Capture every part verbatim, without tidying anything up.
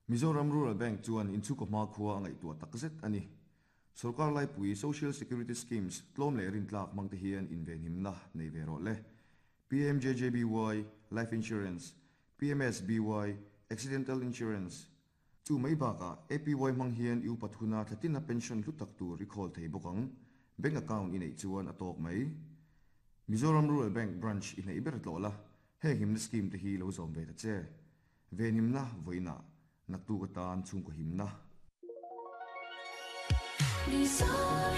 Mizoram Rural Bank chuan inchhungkaw hmakhua a ngaihtuah takzet a ni. Sorkar laipui Social Security Schemes tlawm leh rintlak hmang te hian invenhimna nei ve rawh le. P M J J B Y Life Insurance, P M S B Y Accidental Insurance, chu mai bakah A P Y hmang hian i upat huna thlatina pension hlu tak tur i khawl thei bawk ang. Bank account i neih chuan a tawk mai. Mizoram Rural Bank branch i hnaih ber tlawh la, heng himna scheme te hi lo zawm ve ta che. Venhimna vawiinah, naktuk atan chhungkaw himna. Mizoram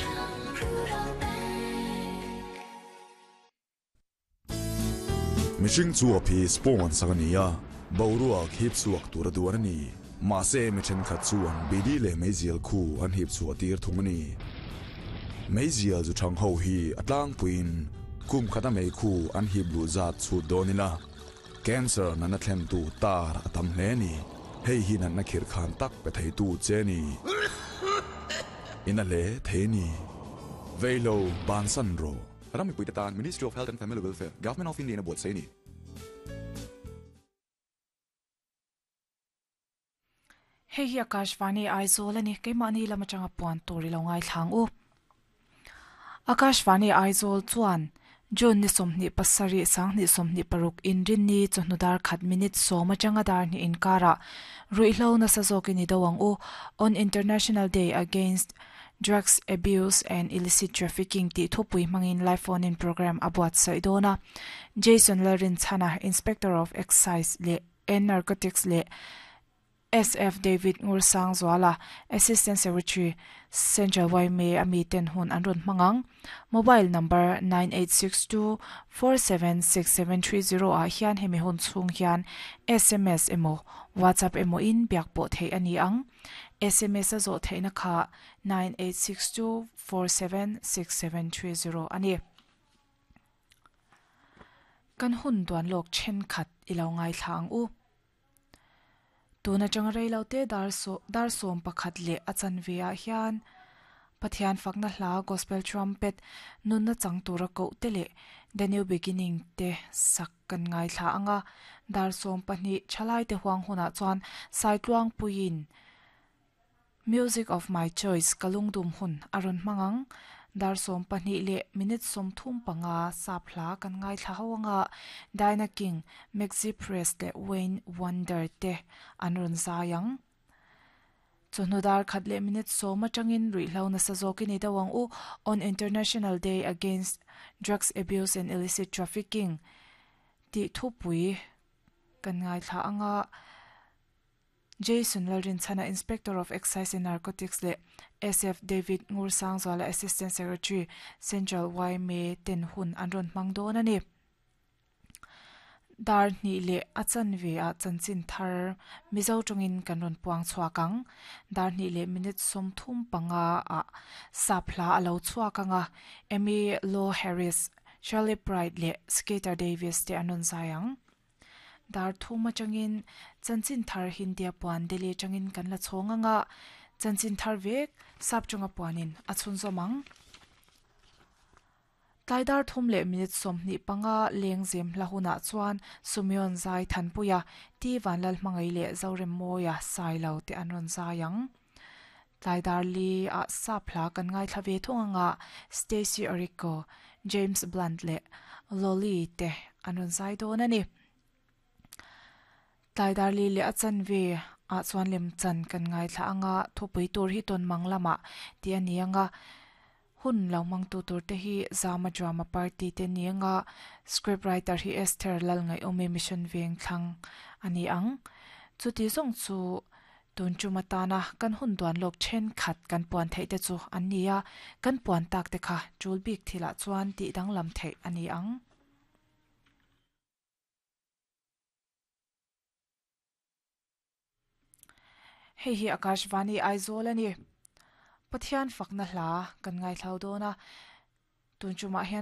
Rural Bank. Mihring chuap hi spawn sak a ni a, boruak hip chhuak tur a duan a ni. Mahse mi thenkhat chuan bidi leh meizial khu an hip chhuah tir thung a ni. Meizial zu thang ho hi a tlangpuiin kum khata mei khu an hip luh zat chhut dawn ila. Cancer natna thlen tu tar a tam hle ni. Hei hi natna khirh khan tak pe thei tu che ni. Ina le thei ni. Veilo bansan ro. Ram mipui te tan Ministry of Health and Family Welfare, Government of India na buat sei ni. Hei hi Akashvani Aizawl ani, keimahni lam atanga puan tur i lo ngaithlang u. Akashvani Aizawl chuan June ni sawmhnih pasarih sanghnih sawmhnih paruk inrinni chawhnu dar khat minute sawm atanga dar hnih inkarah ruihhlo nasa zawkin i do ang u, on International Day Against Drugs Abuse and Illicit Trafficking tih thupui hmangin live phone in program a buatsaih dawn a. Jason Lalrinchhana, Inspector of Excise leh and Narcotics leh S F David Ngursangzuala, Assistant Secretary, Central Y M A ami ten hun an rawn hmang ang. Mobile number nine eight six two four seven six seven three zero ah hian hemi hun chhung hian S M S emaw WhatsApp emaw in biak pawh theih a ni ang. S M S a zawh theihna kha nine eight six two four seven six seven three zero a ni. Kan hun duan lawk thenkhat i lo ngaithla ang u. Tun atanga reilo te dar saw dar sawm pakhat leh a chanve ah hian Pathian fakna hla Gospel Trumpet nunna chang tura koh te leh The New Beginning te sak kan ngaithla anga. Dar sawm pahnih thalai te huang hunah chuan Saitluang puiin Music of My Choice kalungdum hun a rawn hmang ang. Dar sawm pahnih leh minute sawm thum panga sap hla kan ngaithla ho anga, Diana King, Maxi Priest leh Wayne Wonder te an rawn zai ang. Chawhnu dar khat leh minute sawm atangin ruihhlo nasa zawkin i do ang u, on International Day Against Drugs Abuse and Illicit Trafficking tih thupui kan ngaithla anga. Jason Lalrinchhana, Inspector of Excise and Narcotics leh S F David Ngursangzuala, Assistant Secretary, Central Y M A ten hun an rawn hmang dawn a ni. Dar hnih leh a chanve ah chanchin thar Mizo tawngin kan rawn puang chhuak ang. Dar hnih leh minute sawm thum panga ah sap hla a lo chhuak anga, Emmylou Harris, Charley Pride leh Skeeter Davis te an rawn zai ang. Dar thum atangin chanchin thar Hindi a puan Delhi atangin kan la chhawng anga, chanchin thar vek sap tawnga puanin a chhunzawm ang. Tlai dar thum leh minute sawmhnih panga lengzem hla hunah chuan Sumion Zai Thanpuia, T Vanlal Hmangai leh Zorem Mawia Sailo te an rawn zai ang. Tlai dar li ah sap hla kan ngaithla ve thung anga, Stacy Oriko, James Blunt leh Lolly te an rawn zai dawn a ni. Tlai dar li leh a chanve ah chuan lemchan kan ngaithla anga, thupui tur hi tawn mang lamah tih a ni anga. Hun lo hmang tu tur te hi Zama Drama Party te ni anga, script writer hi Esther Lalngaih-awmi, Mission Veng thlang a ni ang. Chuti zawng chu tun tum atana kan hun duan lawk thenkhat kan puan theih te chu an ni a, kan puan tak te kha tul bik thilah chuan tih danglam theih a ni ang. Hei hi Akashvani Aizawl a ni. Pathian fakna hla kan ngaithlau dawn a. Tun tumah hian